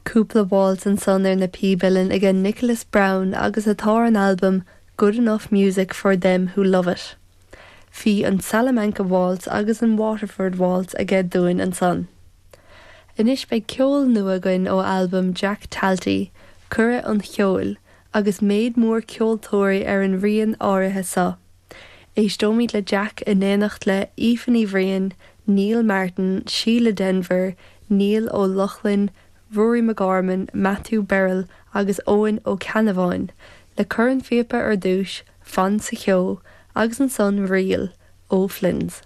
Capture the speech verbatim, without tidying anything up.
Cúpla waltz ansan ar na píob uilleann ag Nicholas Brown agus atá an album Good Enough Music for Them Who Love It. Bhí an Salamanca Waltz agus an Waterford Waltz aige dúinn ansan. Anois beidh ceol nua againn ó album Jack Talty, Cuireadh an Cheoil, agus méid mór ceoltóirí ar an rian áirithe seo. Éisteoimid le Jack in éineacht le Aoife Ní Bhriain, Neil Martin, Síle Denvir, Neil Ó Lochlainn, Rory McGorman, Matthew Berrill agus Eoin Ó Ceannabháin, le cornphíopa ar dtús, Fan sa Cheo, agus ansan Ríl O'Flynn's.